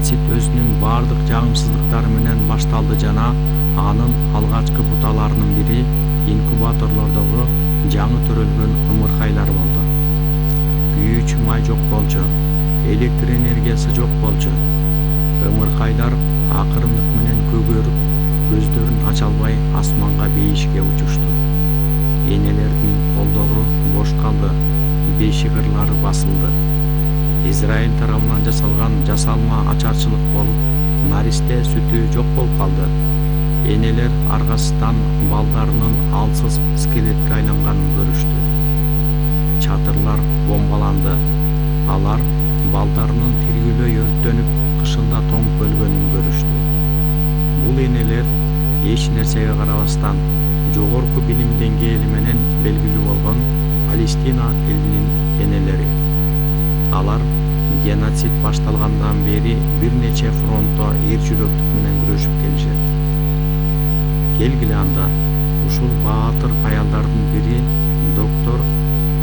геноцид өзүнүн бардык жагымсыздыктары менен башталды жана анын алгачкы буталарынын бири инкубаторлордогу жаңы төрөлгөн ымыркайлар болду. Күйүүчү май жок болчу, электр энергиясы жок болчу. Ымыркайлар акырындык менен көгөрүп, көздөрүн ача албай асманга бейишке учушту. Энелердин колдору бош калды, бешигырлары басылды. Израиль тарабынан жасалган жасалма ачарчылык болуп, наристе сүтү жок болуп калды. Энелер аргасынан балдарынын алсыз скелетке айланганын көрүштү. Чатырлар бомбаланды. Алар балдарынын тирүүлөй өрттөнүп, кышында тоңуп өлгөнүн көрүштү. Бул энелер эч нерсеге карабастан жогорку билим деңгээли менен белгилүү болгон Палестина элинин энелери. Алар геноцид башталгандан бери бир нече фронтто эр жүрөктүк менен күрөшүп келишет. Келгиле анда ушул баатыр аялдардын бири доктор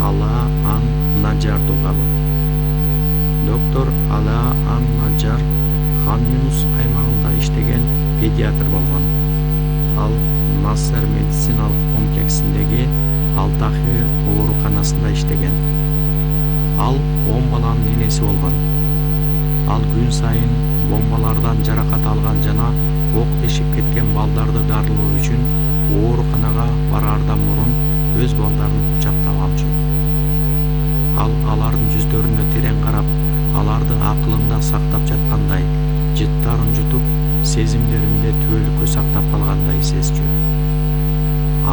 Алаа ан-Наджар туугабы. Доктор Алаа ан-Наджар Хан Юнус аймагында иштеген педиатр болгон. Ал Нассер медициналык комплексиндеги Алтахир ооруканасында иштеген. Ал 10 баланын энеси болгон. Ал күн сайын бомбалардан жаракат алган жана ок тешип кеткен балдарды дарылоо үчүн ооруканага бараардан мурун өз балдарын кучактап алчу. Ал алардын жүздөрүнө терең карап, аларды акылында сактап жаткандай, жыттарын жутуп, сезимдеринде түбөлүккө сактап калгандай сезчү.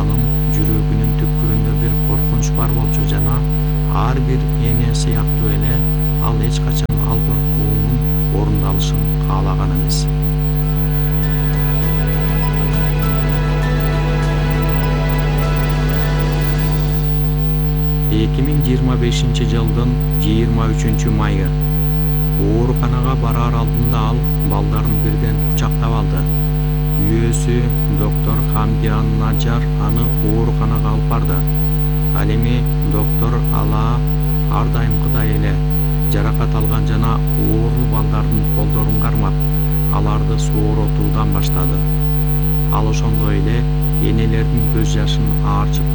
Анын жүрөгүнүн түпкүрүндө бир коркунч бар болчу жана ар бир эне сыяктуу эле ал эч качан ал коркуунун орундалышын каалаган эмес. 2025-жылдын 23 майы ооруканага бараар алдында ал балдарын бирден кучактап алды. Күйөөсү доктор Хамди ан-Наджар аны ооруканага алып барды. Ал эми доктор Алаа ар дайымкыдай эле жаракат алган жана оору балдардын колдорун кармап, аларды сооротуудан баштады. Ал ошондой эле энелердин көз жашын аарчып